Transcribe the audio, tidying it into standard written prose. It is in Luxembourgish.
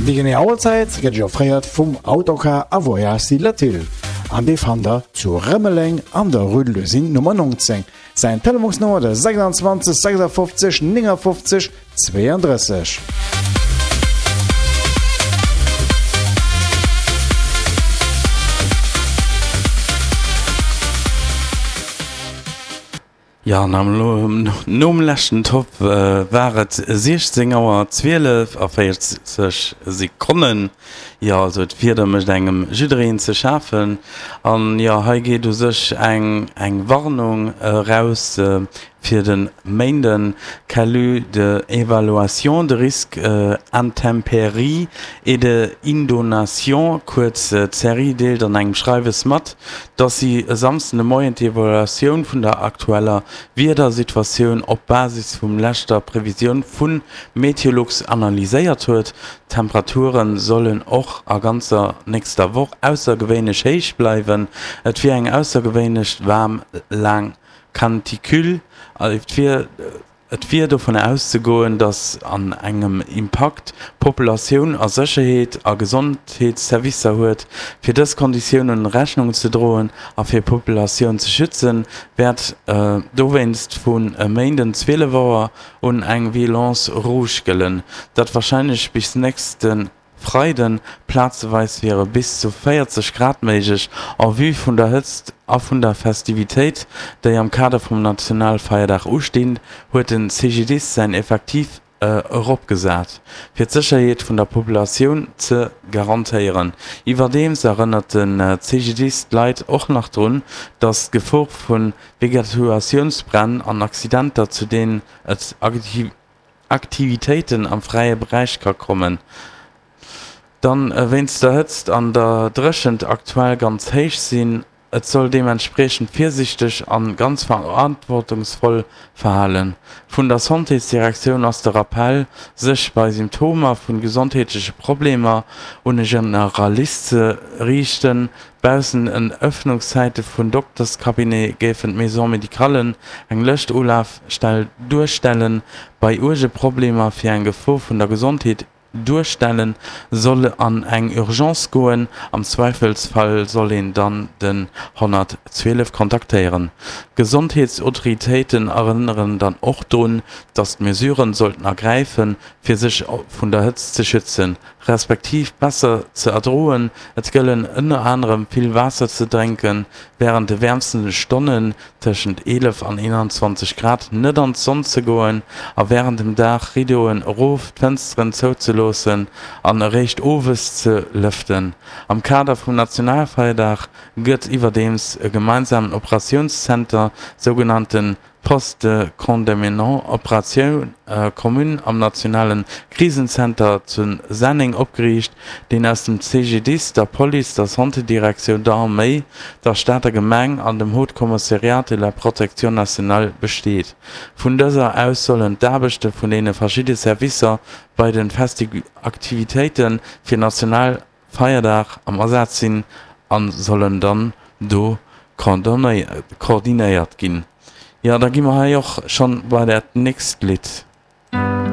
Déi genee Auerzäit gëtt iech offréiert vum Autocar a Voyages Latil an dee fannt der zu Rëmeleng an der Rue de l'Usine Nummer 19. Säin Telefonsnummer de 26 56 59 32. Jo, an nom leschten Topp war et 16 Auer 12 a 40 Sekonnen. Jo, also d'Wieder mécht engem jiddereen ze schafen. An jo, hei geet u sech eng eng Warnung eraus fir de Méinden, Calus de évaluation de risques intempéries et de inondations, kuerz CERI, deelt an engem Schreiwes mat, dass si e Samsden de Moien d'Evaluatioun vun der aktueller Wiedersituatioun op Basis vum leschter Previsioun vu Meteolux analyséiert huet. D'Temperature sollen och a ganzer nächster Woch aussergewéinlech héich bleiwen. Et wier eng aussergewéinlech waarm laang Canicule. Et wier Et wier dovun auszegoen, datt an engem Impakt d'Populatioun a Sécherheet a Gesondheetsservicer huet. Fir dës Konditiounen Rechnung ze droen a fir d'Populatioun ze schützen, wäert dowéinst vun e Méinden 12 Auer un eng Vigilance rouge gëllen, dat warscheinlech bis nächste Freiden, Plazeweis wiere bis zu 40 Grad méiglech. En vue vun der Hëtzt a vun der Festivitéit, déi am Kader vum Nationalfeierdag ustinn, huet de CGDIS säin Effektiv eropgesat, fir d'Sécherheet vun der Populatioun ze garantéieren. Iwwerdeems erënnert de CGDIS d'Leit och nach drun, datt d'Gefor vu Vegetuatiounsbränn an Accidenter, zu deenen et Aktivitéiten am fräie Beräich ka kommen. Dann wéinst der Hëtzt an der Dréchent aktuell ganz héich sinn. Et soll deementspriechend virsiichteg an ganz verantwortungsvoll verhalen. Vun der Santésdirektioun ass de Rappell, sech bei Symptomer vun gesondheetleche Problemer un e Generalist ze riichten. Baussent den Ëffnungszäite vun Dokterscabinet géifen d'Maisons médicallen eng lëscht Ulafstell duerstellen. Bei uerge Problemer fir eng Gefor vun der Gesondheet duerstellen, soll an eng Urgence goen. Am Zweifelsfall soll een dann den 112 kontaktéieren. D'Gesondheetsautoritéiten erënneren dann och drun, datt d'Mesuren sollten ergräifen, fir sech vun der Hëtzt ze schützen. respektiv besser ze erdroen. Et gëllen ënner anerem vill Waasser ze drénken, wärend de wäermsten Stonnen, tëschent 11 an 21 Grad, net an d'Sonn ze goen a wärend dem Dag Rideauen erof, d'Fënsteren zouzeloossen an eréischt owes ze lëften. Am Kader vum Nationalfeierdag gëtt iwwerdeems e gemeinsamen Operatiounszenter, sougenannten Poste de coordonnement opérations communes am nationale Krisenzenter zu Senneng opgeriicht, deen aus dem CGDIS, der Police, der Santédirektioun, der Arméi, der Stater Gemeng an dem Haut Commissariat de la Protection nationale besteet. Vun dëser aus sollen d'Aarbechte vun deene verschidde Servicer bei de Festiaktivitéite fir national Feierdag am Asaz sinn a sollen dann do koordinéiert ginn. Jo, da gi mer hei och schonn bei dat nächst Lidd.